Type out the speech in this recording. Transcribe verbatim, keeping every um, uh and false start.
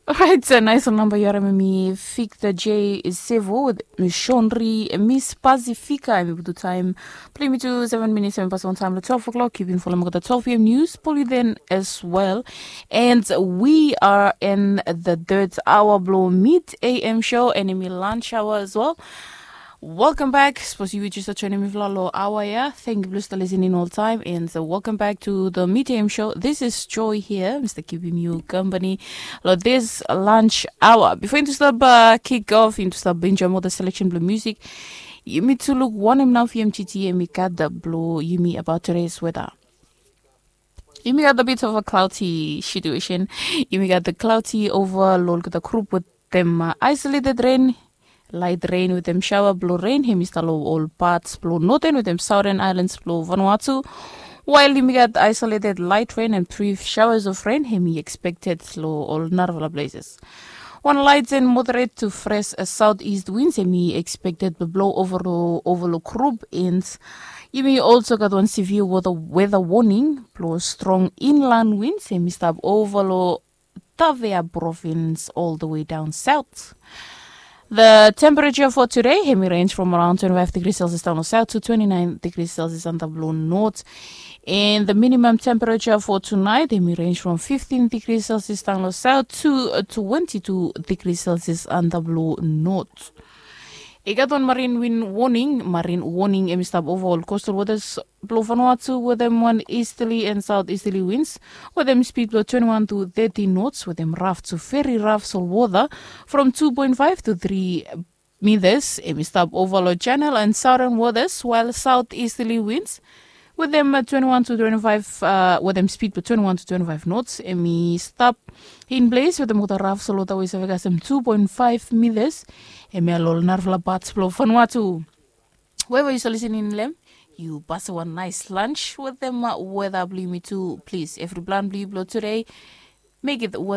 Orait, nais ol namba yu harim em i Victor J Sevo with Shonri Miss Pacifica. Em i putum taem blong yumi tu seven minutes em i pas long taem long twelve o'clock. Yu bin folem olgeta twelve p.m. news poliden as well. And we are in the third hour blong mid a.m. show and em i lunch hour as well. Welcome back. Sapos yu jes joinim mifala long aoa ya, thank yu blong stap listening oltaem and welcome back to the Mid A.M. show. This is Joy here, mi stap givim yu company long this lunch hour. Before yumi stap uh, kick off, yumi stap enjoy more the selection blong music. Yumi tu luk wanem nao fi M G T em i gat blong yumi about today's weather. Yumi gat a bit of a cloudy situation. Yumi gat the cloudy over long olgeta group with them uh, isolated rain, light rain with them shower blong rain. Em i stap long ol parts blong northern with them southern islands blong Vanuatu. While yumi gat isolated light rain and brief showers of rain, em i expected long ol narafala places. Wan light and moderate to fresh uh, southeast winds em i expected blong blow over long over long group and yumi also gat wan severe weather, weather warning blong strong inland winds em i stap over long Tafea province all the way down south. The temperature for today, em i range from around twenty-five degrees Celsius down south to twenty-nine degrees Celsius antap long north. And the minimum temperature for tonight, em i range from fifteen degrees Celsius down south to uh, twenty-two degrees Celsius antap long north. I gat wan marine wind warning, marine warning em i stap over all coastal waters blong Vanuatu with them one easterly and southeasterly winds with them speed blong twenty-one to thirty knots with them rough to very rough salt water from two point five to three meters. Em i stap over long channel and southern waters while southeasterly winds with them uh, twenty-one to twenty-five uh, with them speed blong twenty-one to twenty-five knots. Em i stap in place with them water rough salt water wey save kasem two point five meters. Em i long narafala parts blong Vanuatu. Wherever yu stap listening long em, yu pasem wan nice lunch with them uh, weather blong yumi tu. Please, every plan blong yu blong today, make it weather